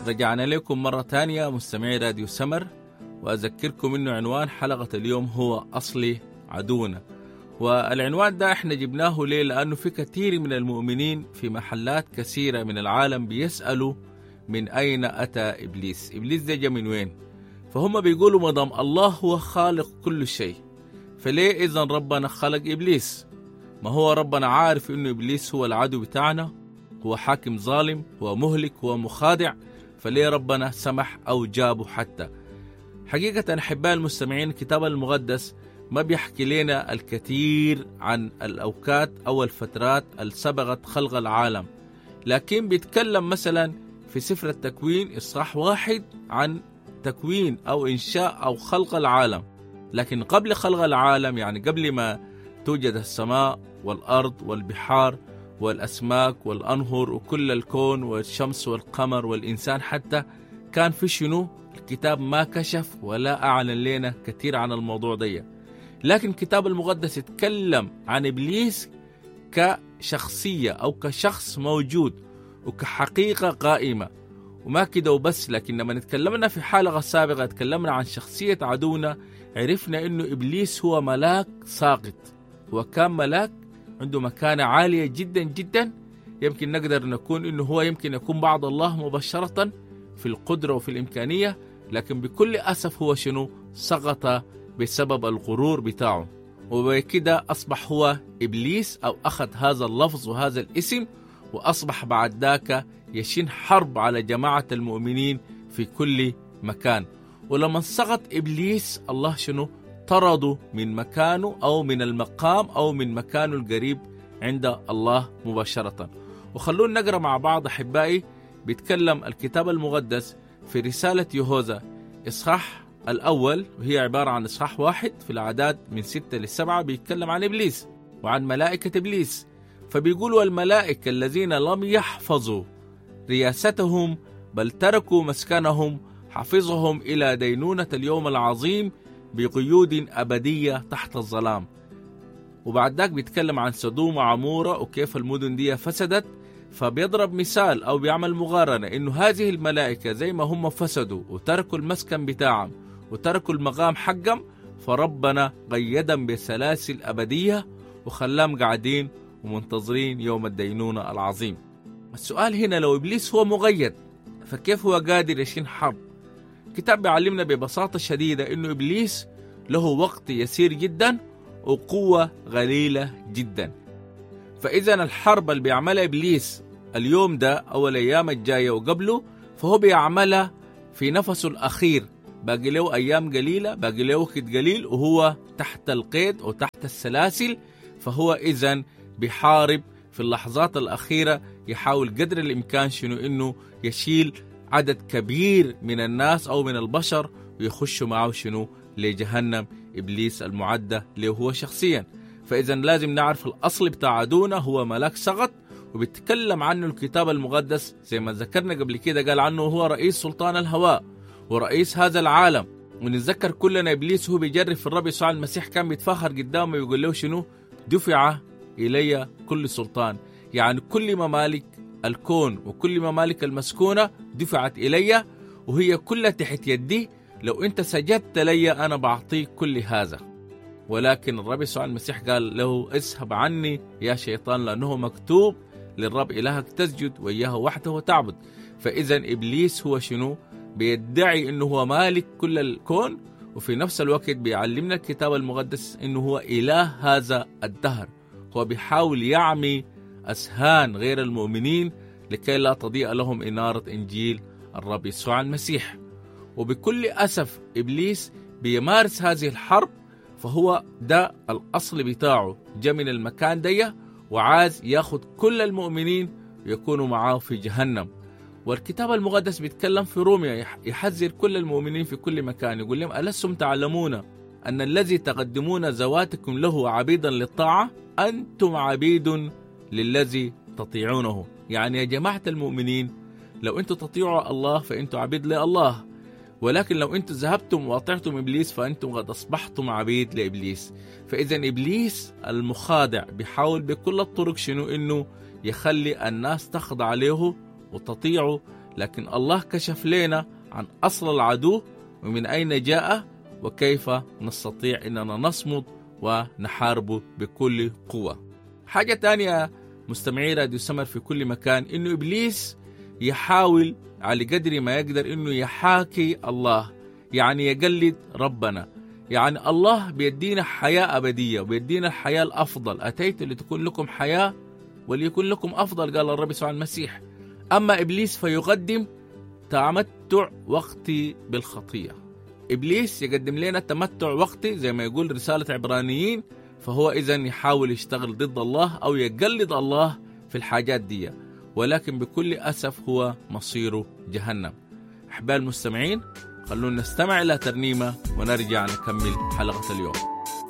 رجعنا لكم مرة تانية مستمعي راديو سمر، وأذكركم أنه عنوان حلقة اليوم هو أصلي عدونا. والعنوان ده احنا جبناه ليه؟ لأنه في كثير من المؤمنين في محلات كثيرة من العالم بيسألوا من أين أتى إبليس؟ إبليس ده جا من وين؟ فهم بيقولوا مدام الله هو خالق كل شيء، فليه إذا ربنا خلق إبليس؟ ما هو ربنا عارف إنه إبليس هو العدو بتاعنا، هو حاكم ظالم، هو مهلك، هو مخادع، فليه ربنا سمح أو جابه حتى؟ حقيقة أحباء المستمعين، الكتاب المقدس ما بيحكي لنا الكثير عن الأوقات أو الفترات اللي سبقت خلق العالم، لكن بيتكلم مثلا في سفر التكوين إصحاح 1 عن تكوين أو إنشاء أو خلق العالم. لكن قبل خلق العالم، يعني قبل ما توجد السماء والأرض والبحار والأسماك والأنهر وكل الكون والشمس والقمر والإنسان حتى، كان في شنو؟ الكتاب ما كشف ولا أعلن لنا كثير عن الموضوع ده. لكن الكتاب المقدس يتكلم عن إبليس كشخصية أو كشخص موجود وكحقيقة قائمة، وما كده وبس. لكن لما نتكلمنا في حلقة سابقة تكلمنا عن شخصية عدونا، عرفنا إنه إبليس هو ملاك ساقط، هو كان ملاك عنده مكانة عالية جدا جدا، يمكن نقدر نكون إنه هو يمكن يكون بعد الله مباشرة في القدرة وفي الإمكانية، لكن بكل أسف هو شنو؟ سقط بسبب الغرور بتاعه، وبكده أصبح هو إبليس أو أخذ هذا اللفظ وهذا الاسم، وأصبح بعد ذاك يشن حرب على جماعة المؤمنين في كل مكان. ولما سقط إبليس، الله شنو؟ طرده من مكانه أو من المقام أو من مكانه القريب عند الله مباشرة. وخلونا نقرأ مع بعض أحبائي. بيتكلم الكتاب المقدس في رسالة يهوذا إصحاح الأول، وهي عبارة عن إصحاح 1 في الأعداد من 6 ل7، بيتكلم عن إبليس وعن ملائكة إبليس. فبيقولوا الملائكة الذين لم يحفظوا رياستهم بل تركوا مسكنهم حفظهم إلى دينونة اليوم العظيم بقيود أبدية تحت الظلام. وبعد ذاك بيتكلم عن سدوم وعمورة وكيف المدن دي فسدت، فبيضرب مثال أو بيعمل مقارنة إنه هذه الملائكة زي ما هم فسدوا وتركوا المسكن بتاعهم وتركوا المقام حقهم، فربنا قيدهم بسلاسل أبدية وخلاهم قاعدين ومنتظرين يوم الدينونة العظيم. السؤال هنا، لو إبليس هو مغيد فكيف هو قادر يشين حرب؟ الكتاب بيعلمنا ببساطة شديدة إنه إبليس له وقت يسير جدا وقوة قليلة جدا. فإذا الحرب اللي بيعملها إبليس اليوم ده أو الأيام الجاية وقبله، فهو بيعملها في نفسه الأخير، باقي له أيام قليلة، باقي له وقت قليل، وهو تحت القيد وتحت السلاسل. فهو إذن بيحارب في اللحظات الأخيرة، يحاول قدر الإمكان شنو؟ إنه يشيل عدد كبير من الناس أو من البشر ويخشوا معه شنو؟ لجهنم إبليس المعدة له هو شخصيا. فإذا لازم نعرف الأصل بتاع عدونا هو ملاك سقط، وبيتكلم عنه الكتاب المقدس زي ما ذكرنا قبل كده، قال عنه هو رئيس سلطان الهواء ورئيس هذا العالم. ونتذكر كلنا إبليس هو بيجرب في الرب يسوع المسيح، كان بيتفاخر قدامه ويقول له شنو؟ دفع إلي كل سلطان، يعني كل ممالك الكون وكل ممالك المسكونة دفعت إلي وهي كلها تحت يدي، لو أنت سجدت لي أنا بعطيك كل هذا. ولكن الرب يسوع المسيح قال له اذهب عني يا شيطان، لأنه مكتوب للرب إلهك تسجد وإياه وحده تعبد. فإذا إبليس هو شنو؟ بيدعي أنه هو مالك كل الكون، وفي نفس الوقت بيعلمنا الكتاب المقدس أنه هو إله هذا الدهر. هو بيحاول يعمي أذهان غير المؤمنين لكي لا تضيء لهم إنارة إنجيل الرب يسوع المسيح. وبكل أسف إبليس بيمارس هذه الحرب، فهو ده الأصل بتاعه، جاء من المكان دي وعاز ياخد كل المؤمنين ويكونوا معاه في جهنم. والكتاب المقدس بيتكلم في روميا، يحذر كل المؤمنين في كل مكان، يقول لهم ألستم تعلمون أن الذي تقدمون ذواتكم له عبيدا للطاعة أنتم عبيد للذي تطيعونه. يعني يا جماعة المؤمنين، لو أنتم تطيعوا الله فأنتم عبيد لله، ولكن لو أنتم ذهبتم وأطعتم إبليس فأنتم قد أصبحتم عبيد لإبليس. فإذا إبليس المخادع بيحاول بكل الطرق شنو؟ إنه يخلي الناس تخضع له وتطيعه لكن الله كشف لنا عن أصل العدو ومن أين جاء وكيف نستطيع أننا نصمد ونحاربه بكل قوة. حاجة تانية مستمعي راديو سمر في كل مكان، إنه إبليس يحاول على قدر ما يقدر إنه يحاكي الله، يعني يقلد ربنا. يعني الله بيدينا حياة أبدية وبيدينا الحياة الأفضل، أتيت لتكون لكم حياة وليكن لكم أفضل، قال الرب يسوع المسيح. أما إبليس فيقدم تمتع وقتي بالخطية. إبليس يقدم لنا تمتع وقتي زي ما يقول رسالة عبرانيين، فهو إذن يحاول يشتغل ضد الله أو يقلد الله في الحاجات دي، ولكن بكل أسف هو مصيره جهنم. أحباء المستمعين، خلونا نستمع إلى ترنيمة ونرجع نكمل حلقة اليوم.